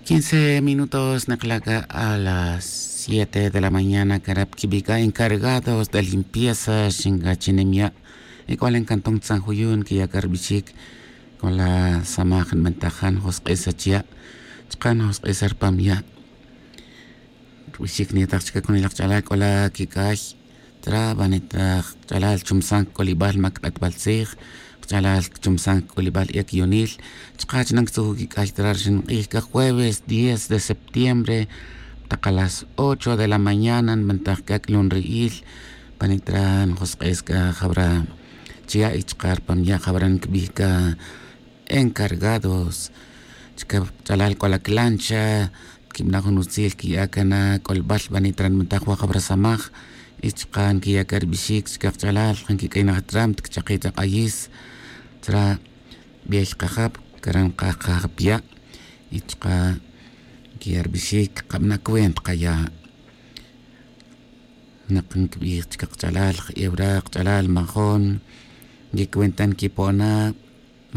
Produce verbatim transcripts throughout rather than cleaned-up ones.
Quince minutos nakla' c'a a las siete de la mañana, cara' pa quibi' c'a encargados de limpieza xinca chinem ya'. Y c'o la encanton tzan juyun quiya' c'a rbixic. C'o la samaj nbantajan josk'esa chiya'. Chka' josk'esa rpam ya'. Rbixic niyataj chica cunilaj kch'alal c'o la quic'ay. Tra banit ra kch'alal chumsan c'olibal mac k'atbal tzij, kch'alal chumsan c'olibal ec'yunil. Chka' chinan ctzuju' quic'ay tra rxin k'ij c'a jueves diez de septiembre, tak a las ocho de la mañana nbantaj c'a c'lun ri'il. Banit ra njosk'es c'a jabra chiya' y chka' rpam ya' jabra ncbij c'a encargados. Chica kch'alal c'o la clancha quibana' jun utzil quiya' cana c'olbal banit ra nbantaj wa jabra samaj. Y chka' nquiya' c'a rbixic chica kch'alal jan quic'aynaj tram ta cchaki' ta k'ayis. Chra' biey kajap, cara' nkaj kajap ya'. Y chka' nquiya' rbixic kabana' cuenta kaya'. Nak nkbij chica kch'alal je'ewra kch'alal majon. Nquicuenta nquipo'ona'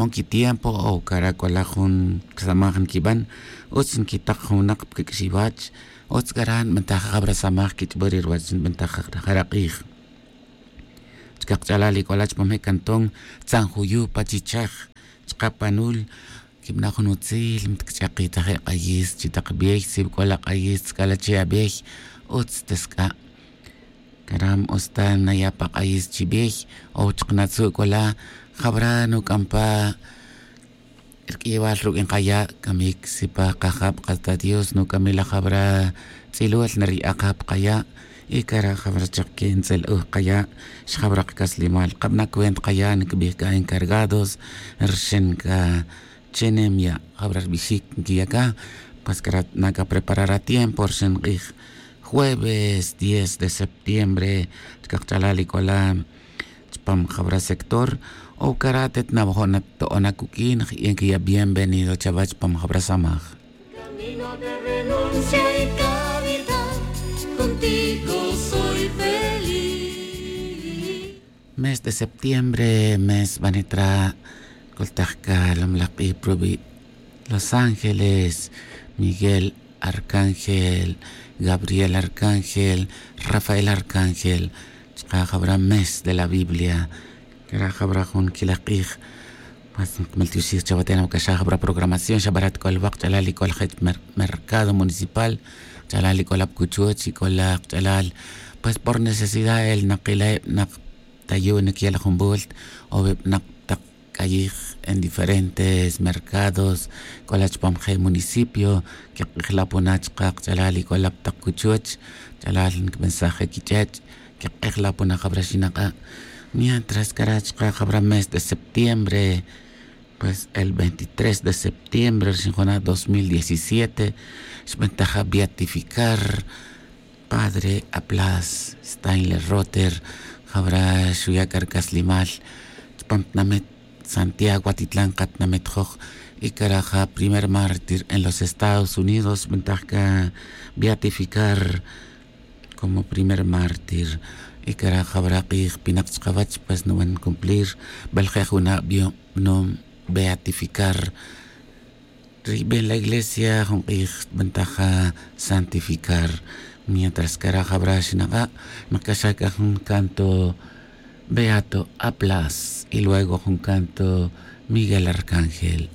mon quitiempo o cara' c'o la jun samaj nquiban. Utz nquitak jun winak pa quic'xiwach. Utz cara' nbantaj jabra samaj quich'ba ri ruwach nbantaj jara k'ij. Chica kch'alal y c'o la chupam je' canton tzan juyu' pa chichaj. Chka' panul quibana' jun utzil mtcch'aki' ta je' k'ayis chi tak biey si c'o la k'ayis tzc'ala' che' abiey. Utz ta sc'a'. Caram utz ta naya' pa k'ayis chi biey. O chka' natzu' c'o la jabra nuc'am pa rq'uiyewal ruq'uin kaya' camic si pa kajab kata dios nuc'amil la jabra tz'ilul nari'ak ja pa kaya'. Y cara' jabra chak que ntz'el'uj kaya' xjabra kacaslimal kabana' cuenta kaya' ncbij c'a encargados rxin c'a chenem ya' jabra rbixic nquiya' c'a. Pues cara' na c'a preparar atiempo rxin k'ij jueves diez de septiembre. Chica kch'alal y c'o la chupam jabra sector o cara' atet nawajo' nato'ona cuq'uin je' nquiya' bienvenido chawech chupam jabra samaj. Mes de septiembre mes banit ra' coltaj c'a lomlaj k'ij provi' los ángeles, miguel arcángel, gabriel arcángel, rafael arcángel. Chka' jabra mes de la biblia. Cara' jabra jun quilaj k'ij. Mas nkmaltioxij chawa tena wac'axa jabra programación xa barat c'o la wa kch'alal y c'o la jech mercado municipal. Kch'alal y c'o la pa cuchuch y c'o la kch'alal. Pues por necesidad el nakila' eb nak tayu' niquiya' la jun volt o eb nak tak c'ayij en diferentes mercados. C'o la chupam je' municipio quek'ejla' pona chka' kch'alal y c'o la pa tak cuchuch. Kch'alal ncbensaj je' quich'ech' quek'ejla' pona jabra xinak'a'. Mientras cara' chka' jabra mes de septiembre pues el veintitrés de septiembre rxin juna' dos mil diecisiete xbentaja beatificar padre aplas stainler roter. Jabra xuya' c'a rcaslimal chupam tnamet santiago atitlan katnamet joj. Y cara' ja primer mártir en los estados unidos xbentaja c'a beatificar como primer mártir. Y cara' jabra k'ij pinak chkawech pues nuban cumplir. Bel je' juna' biyunom beatificar. Ri bien la iglesia jun k'ij xbentaja santificar. Mientras cara' jabra xinak'a' nak'axa c'a jun canto beato aplas y luego jun canto miguel arcángel.